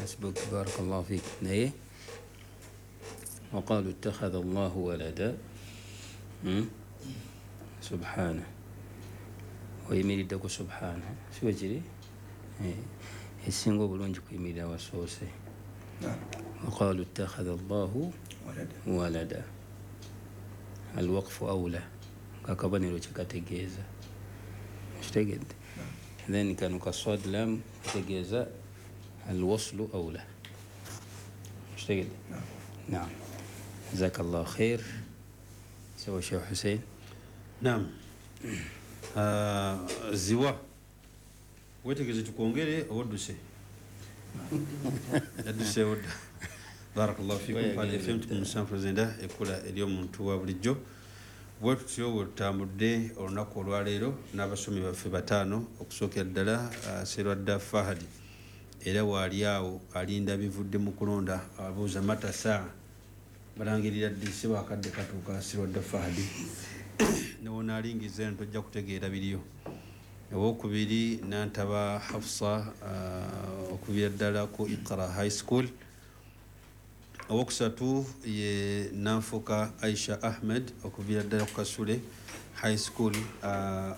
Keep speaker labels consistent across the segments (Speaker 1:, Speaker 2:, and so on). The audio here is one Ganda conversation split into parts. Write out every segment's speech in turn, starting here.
Speaker 1: Hasbuk, barakallahu fik. Naye waqalu ittakhadha Allahu walada, Subhana, oyimiriddeko subhana, si bwe kiri? Ekisinga obulungi kuyimirira wasoose. Waqalu ittakhadha Allahu walada, alwaqfu aula, ngakabonero kyekategeeza, kitegedde? Then kano kaswad lam kategeeza alwaslu aula, kitegedde? Naam, jazakallahu khair. Sawa, Sheikh Hussein.
Speaker 2: Naam. Ziwa wetegeze tukwongere odduse yadduse odda. Barakallahu fikum. Pale FM 7 ekula ery'omuntu wa bulijjo. Bwe tutyo bwe tutambudde olunaku olwaleero n'abasomi baffe bataano. Okusookera ddala Serwadda Fahadi, era waali awo alinda bivudde mu kulonda, abuuza mata saa balangirira ddi. Si wakadde katuuka. Serwadda Fahadi, newonaalingiza eno tojja kutegeera biriyo. Owokubiri Nantaba Hafsa, okubira ddala ku Iqra High School. Owokusatu ye Nanfuka Aisha Ahmed, okuviira ddala ku Kasule High School.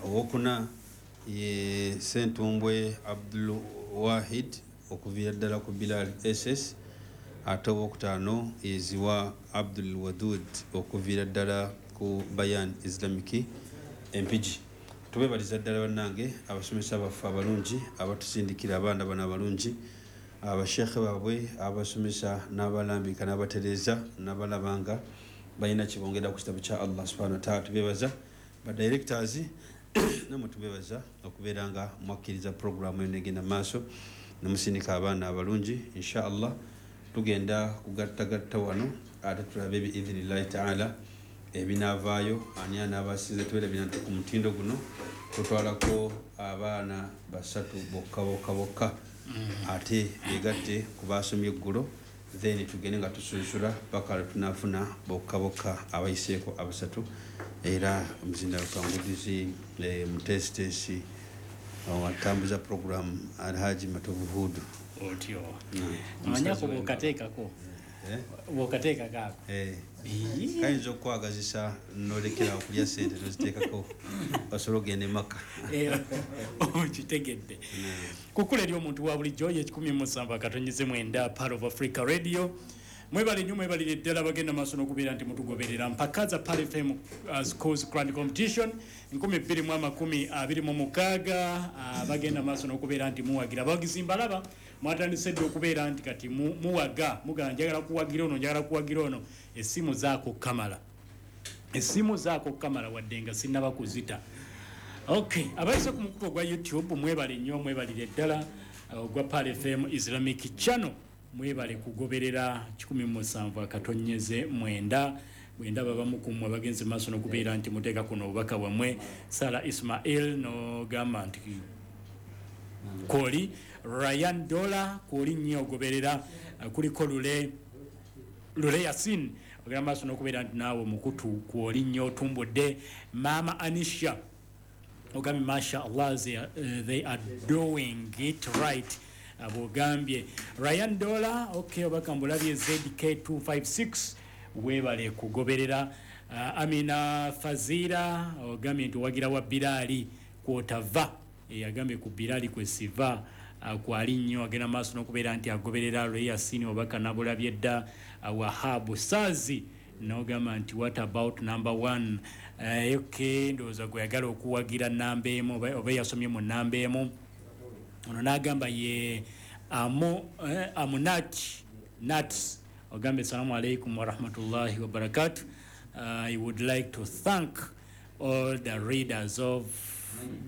Speaker 2: Owokuna ye Sentumbwe Abdul Wahid, okuviira ddala ku Bilal SS. Ate owokutaano ye Ziwa Abdul Wadud, okuviira ddala ku Bayan Islamic Empigi. Tubebaliza ddala bannange abasomesa baffe abalungi abatusindikira abaana bano abalungi, abashekhe baabwe abasomesa n'abalambika n'abatereeza n'abalabanga balina kibongera ku kitabo kya Allah subhanahu wataala. Tubebaza badirectors, namwe tubebaza okubeera nga mwakkiriza programu eno egenda maaso nemusindika abaana abalungi. Insha Allah tugenda kugattagatta wano ate tulabe biidhinillahi taala ebinaavaayo, ani anaabasinze. Tubeerabira nti ku mutindo guno tutwalako abaana basatu bokka bokka bokka, ate begatte ku basomye eggulo, then tugende nga tusunsula paka lwe tunafuna bokka bokka abayiseeko abasatu. Era omuzindalo kangudizi muteesiteesi atambuza program Alhaji Matovu Hudu.
Speaker 3: Otyo amanyako bwokateekako bwokateekako ako.
Speaker 2: Kayinza okukwagazisa nolekera okulya sente noziteekako osobola ogenda emaka.
Speaker 3: Okitegedde? Kukula eri omuntu wa bulijjo ye 107.9 Part of Africa Radio. Mwebale nnyo, mwebalire ddala bagenda maaso n'okubeera nti mutugoberera. Mpaka za Pearl FM Schools Grand Competition 2026, bagenda maaso n'okubeera nti muwagira. Abawagizi mbalaba mwatandise dde okubeera nti kati muwaga, mugamba njagala kuwagira ono, njagala kuwagira ono. Essimu zaako kamala, essimu zaako kamala, wadde nga sinnaba kuzita. Okay, abayise ku mukutu ogwa YouTube mwebale nnyo, mwebalire ddala, ogwa Pearl FM Islamic Channel. Mwebale kugoberera 107.9. Bwendaba bamu ku mmwe bagenze maaso n'okubeera nti muteeka kuno obubaka bwammwe. Sara Ismail n'ogamba nti kwoli, Ryan Dola kwoli nnyo ogoberera, kuliko Lule Lule Yasin, ogenda maaso n'okubeera nti naawe mukutu kwoli nnyo otumbudde. Maama Anisha ogambye masha Allah, they are doing it right, bwogambye Ryan Dola. Okay, obaka mbulabye. ZK 256 weebale kugoberera. Amina Fazira ogambye nti owagira wa Birali kwotava, yagambye ku Birali kwesiva, kwali nnyo agenda maaso n'okubeera nti agoberera. Reyasini obaka nabulabye dda. Wahabu Sazi nogamba nti what about number one? Okay, ndowooza gwe yagala okuwagira namba emu oba yasomye mu namba emu. Ono n'agamba ye Amunat Nats, ogambye assalamu alaikum warahmatullahi wabarakatu. I would like to thank all the readers of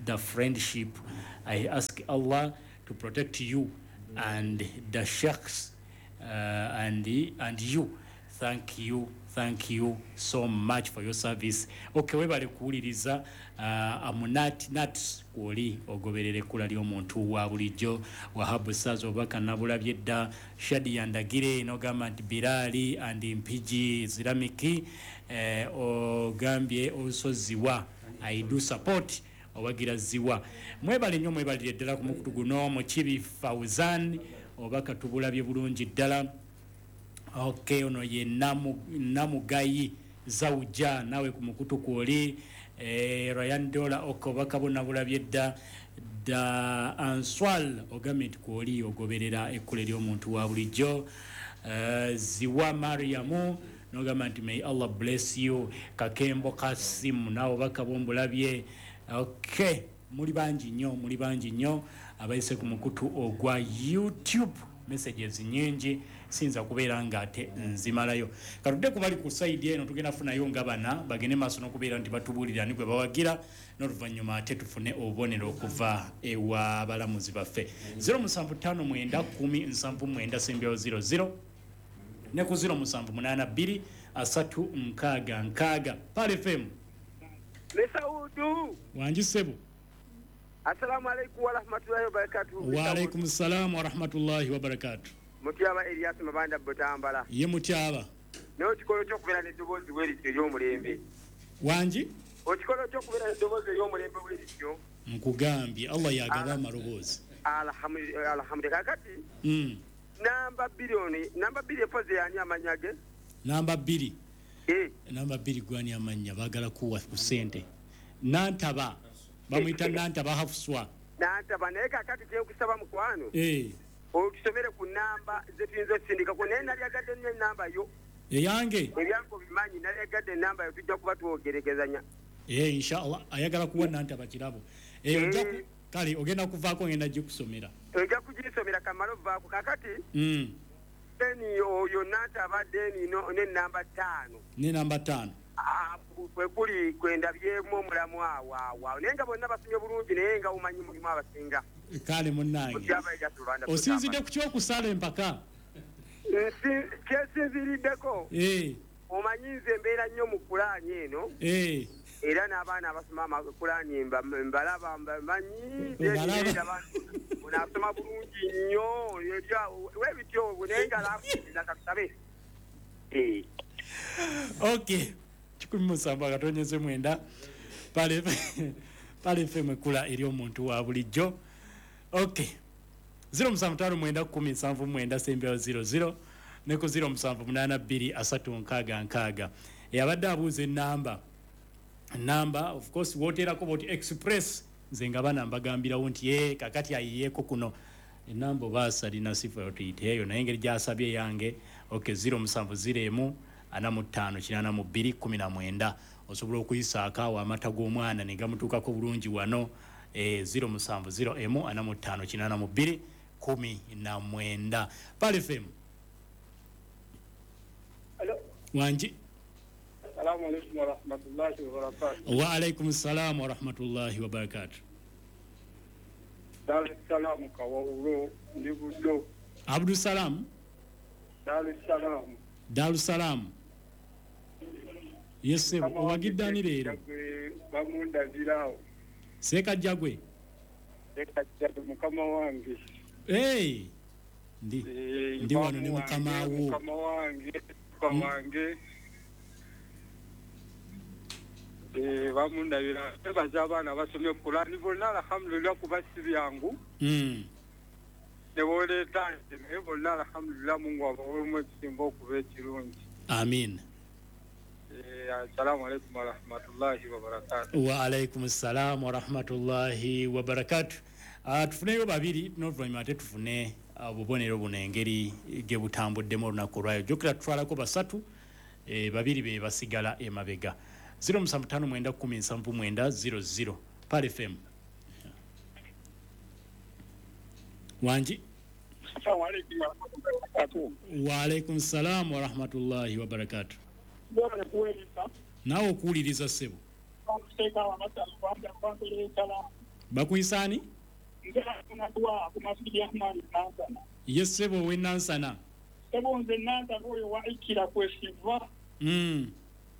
Speaker 3: the friendship. I ask Allah to protect you and the sheikhs and you. Thank you, thank you so much for your service. Okay, webale kuwuliriza. Amunat Nats kwoli ogoberera ekkula ly'omuntu wa bulijjo. Wahabu Saza obubaka nabulabye dda. Shadi Yandagire nogamba nti Birali and Mpigi Islamic, ogambye also Ziwa, I do support, owagira Ziwa. Mwebale nnyo, mwebalire ddala ku mukutu guno. Mukibi Fauzan Obubaka tubulabye bulungi ddala. Ok, ono ye Namugayi Zawuja, nawe ku mukutu kwoli. Ryan Dola, ok, obubaka bwonna bulabye dda. Da Answal ogambye nti kwoli ogoberera ekkula ery'omuntu wa bulijjo. Ziwa Mariamu nogamba nti may Allah bless you. Kakembo Kasimu, nawe obubaka bwombulabye. Ok, muli bangi nnyo, muli bangi nnyo abayise ku mukutu ogwa YouTube. Messages nyingi, siyinza kubeera nga ate nzimalayo. Katudde ku bali ku sayidi eno, tugenda funayo nga bana bagende maaso n'okubeera nti batubuulira ani gwe bawagira, n'oluvannyuma ate tufune obubonero okuva ewa balamuzi baffe. 0759 10 79 sembyawo 00 ne ku 0782 3 6 6. Pal FM.
Speaker 4: Mesaudu.
Speaker 3: Wangi ssebo.
Speaker 4: Assalamu alaikum wa rahmatullahi wa barakatuh.
Speaker 3: Wa alaikum salam wa rahmatullahi wa barakatuh.
Speaker 4: Mutyaba Elias Mabanda Butambala.
Speaker 3: Ye Mutyaba.
Speaker 4: Naye okikola ky'okubeera n'eddoboozi bwe lityo ery'omulembe.
Speaker 3: Wangi?
Speaker 4: Okikola ky'okubeera n'eddoboozi ery'omulembe bwe lityo.
Speaker 3: Nkugambye Allah yagaba amaloboozi.
Speaker 4: Alhamdulillah. Kakati. Namba 2 namba 2 epoze yani amannya ge?
Speaker 3: Namba 2. Namba 2 gwani amannya baagala kuwa ku ssente. Nantaba. Bamuyita Nantaba Hafswa.
Speaker 4: Nantaba naye kakati kyenkusaba mukwano. Otusomere ku namba zetuyinza osindikako, naye nalyagadde nnyo ennamba yo.
Speaker 3: Eyange?
Speaker 4: Ebyange obimanyi, nalyagadde ennamba yo, tujja kuba twogerekezanya.
Speaker 3: Inshallah ayagala kuwa Nantaba kirabo. Kale ogenda kuvaako ngenda gikusomera.
Speaker 4: Ojja kugisomera kamala ovaako kakati. Deni oyo Nantaba deni n'ennamba 5.
Speaker 3: N'ennamba 5.
Speaker 4: Kwe kuli kwendabyemu omulamu awo awo, naye nga bonna basomye bulungi, naye nga omanyi mulimu abasinga.
Speaker 3: Kale munnange, osinzidde ku kyokusala empaka?
Speaker 4: Kyesinziriddeko, omanyi nze mbeera nnyo mu kulaani eno, era n'abaana abasoma amakulaani mbalaba, mmanyi onaasoma bulungi nnyo webityo, naye nga laakuza katusabe.
Speaker 3: Okay. 17.9 Pale FM ekula eri omuntu wa bulijjo. Okay. 0759 10 79 00 ne ku 0782 3 6 6. Yabadde abuuza ennamba. Namba of course woterako boti express nze nga bana mbagambirawo nti kakati ayiyeeko kuno ennamba oba alina sifa yotuyiteeyo, naye engeri gy'asabye yange. Okay, 0701 45 82 19. Osobola okuyisaako awo amata g'omwana ne gamutuukako bulungi wano. 0701 45 82 19. Pal FM.
Speaker 5: Hello.
Speaker 3: Wangi.
Speaker 5: Assalamu alaikum wa rahmatullahi wa barakatuh.
Speaker 3: Wa alaikum salam wa rahmatullahi wa barakatuh.
Speaker 5: Dar es Salaam Kawawulo ndi Buddo.
Speaker 3: Abdul Salam.
Speaker 5: Dar es Salaam.
Speaker 3: Dar es Salaam. Yes, owagidde ani leero?
Speaker 5: Bamundabirawo.
Speaker 3: Ssekajjagwe.
Speaker 5: Ssekajjagwe mukama wange.
Speaker 3: Ndi wano ne mukama wo.
Speaker 5: Mukama wange, mukama wange. Bamundabira. Bebaza abaana basomye Kurani bonna, alhamdulillah, kuba si byangu. Ne boleeta naye bonna alhamdulillah, Mungu abawemu ekisinga okuba ekirungi.
Speaker 3: Amin.
Speaker 5: Assalamu alaikum wa rahmatullahi wa barakatuh.
Speaker 3: Wa alaikum assalam wa rahmatullahi wa barakatuh. Tufuneyo babiri n'oluvannyuma ate tufune obubonero buno engeri gye butambuddemu olunaku olwayo. Jjukira tutwalako basatu, babiri be basigala emabega. 0759 10 79 00. Pal FM. Wangi.
Speaker 5: Assalamu alaikum wa rahmatullahi wa barakatuh.
Speaker 3: Wa alaikum salam wa rahmatullahi wa barakatuh. Naawe okuwuliriza ssebo. Bakuyisaani? Ye ssebo ow'e Nansana.
Speaker 5: Ssebo nze Nansana oyo wa Ikira kwesiva.